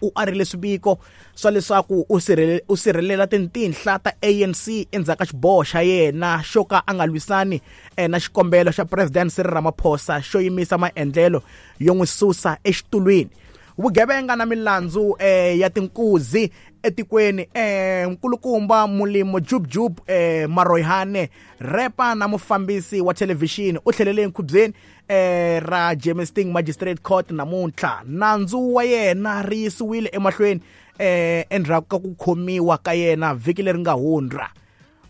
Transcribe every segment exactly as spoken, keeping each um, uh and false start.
U arile swiviko swa leswaku u sirhele u sirhelela tintinhla ta A N C endzhaku ka xiboho xa yena xo ka a nga lwisani na xikombelo xa President Cyril Ramaphosa xo yimisa maendlelo yo n'wi susa exitulwini. Vugevenga na milandzu eh, ya tinkuzi etikweni eh, nkulukumba Molemo Jub Jub eh, Maroyane repa na mufambisi wa thelevhixini u tlhelele enkhubyeni eh, ra Germiston Magistrate Court namuntlha. Nandzu wa yena ri yisiwile emahlweni eh, endzhaku ka ku khomiwa ka yena vhiki leri nga hundza.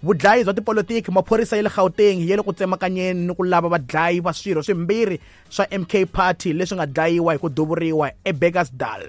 Vudlayi bya tipolitiki, maphorisa ya le Gauteng ya le ku tsemakanyeni ni ku lava vadlayi va swirho swimbirhi swa M K Party leswi nga dlayiwa hi ku duvuriwa eBekkersdal.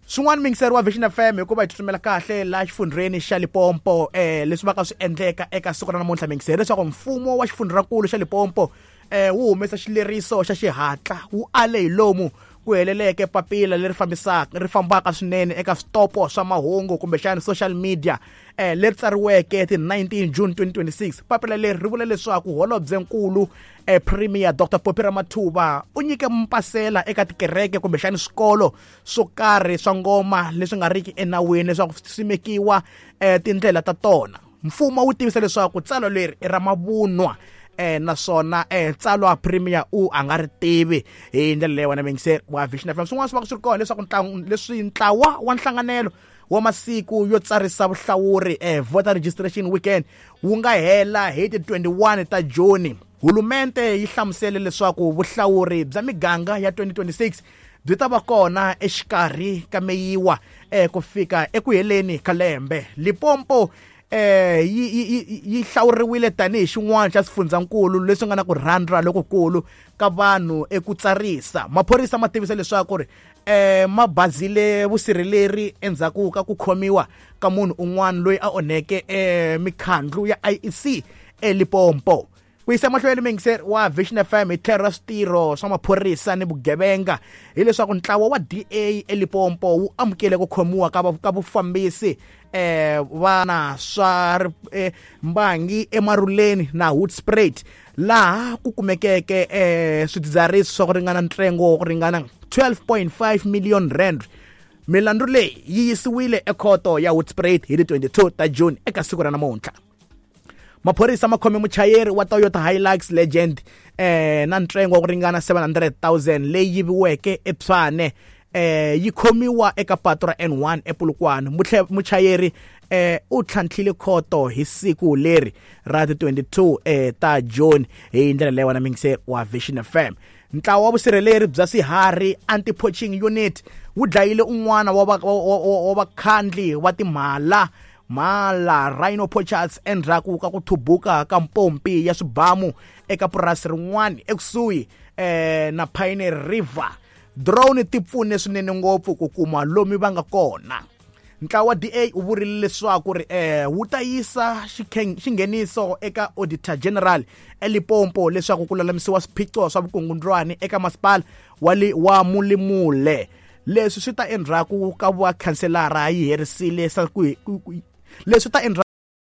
Swin'wana mingiseri wa Vision F M hikuva hi tsutsumela kahle laha xifundzheni xa Limpopo eh leswi va ka swi endleka eka siku ra namuntlha mingiseri leswaku mfumo wa xifundzhankulu xa Limpopo eh wu humesa xileriso xa xihatla wu ale hi lomu ku heleleke papila leri fambisaka ri fambaka swinene eka switopo swa mahungu kumbexana social media eh leri tsariweke ti nineteen June twenty twenty-six. Papila leri ri vula leswaku holobyenkulu eh Premier Doctor Phophi Ramathuba u nyike mpasela eka tikereke kumbexana swikolo swo karhi swa ngoma leswi nga riki enawini leswaku swi simekiwa eh tindlela ta tona. Mfumo wu tivisa leswaku tsalwa leri i ra mavunwa eh naswona eh tsalwa Premier u a nga ri tivi hi ndlela leyi wena mingiseri wa Vision F M. Swin'wana swi va swi ri kona leswaku ntlangu leswi ntlawa wa nhlanganelo wa masiku yo tsarisa vuhlawuri eh voter registration weekend wu nga hela hi ti twenty-one ta June. Hulumente yi hlamusele leswaku vuhlawuri bya miganga ya twenty twenty-six byi ta va kona exikarhi ka meyiwa eh ku fika eku heleni ka lembe. Limpopo eh yi yi yi hlawuriwile tanihi xin'wana xa swifundzhankulu leswi nga na ku rhandza lokukulu ka vanhu eku tsarisa. Maphorisa ma tivisa leswaku ri eh ma bazile vusirheleri endzhaku ka ku khomiwa ka munhu un'wana loyi a onheke eh mikhandlu ya I E C eLimpopo. Ku yisa mahlweni mingiseri wa Vision F M hi tlhelo ra switirho swa maphorisa ni vugevenga hileswaku ntlawa wa D A eLimpopo wu amukele ku khomiwa ka ka vufambisi eh vana swa eh, mbangi eMaruleni na Hoedspruit laha ku kumekeke eh swidzidziharisi swa ku ringana ntsengo wa ku ringana twelve point five million rand. Milandzu leyi yi yisiwile ekhoto ya Hoedspruit hi ti twenty-two ta June eka siku ra namuntlha. Maphorisa ma khome muchayeri wa Toyota Hilux Legend eh na ntsengo wa ku ringana seven hundred thousand leyi yiviweke eTshwane eh yi khomiwa eka patu ra N one ePolokwane. Muchayeri eh u tlhantlhile khoto hi siku leri ra ti twenty-two eh ta June hi ndlela leyi wena mingiseri wa Vision F M. Ntlawa wa vusirheleri bya swiharhi anti-poaching unit wu dlayile un'wana wa wa vakhandli wa timhala mhala rhino poachers endzhaku ka ku thubuka ka mpompi ya swibamu eka purasi rin'wana ekusuhi eh na Pine River. Drone ti pfune swinene ngopfu ku kuma lomu va nga kona. Ntlawa wa D A u vurile leswaku ri eh wu ta yisa xingheniso eka Auditor General eLimpopo leswaku ku lulamisiwa swiphiqo swa vukungundwani eka masipala wa wa Mulimule. Leswi swi ta endzhaku ka va khanselara yi herisile ku leswi ta endzhaku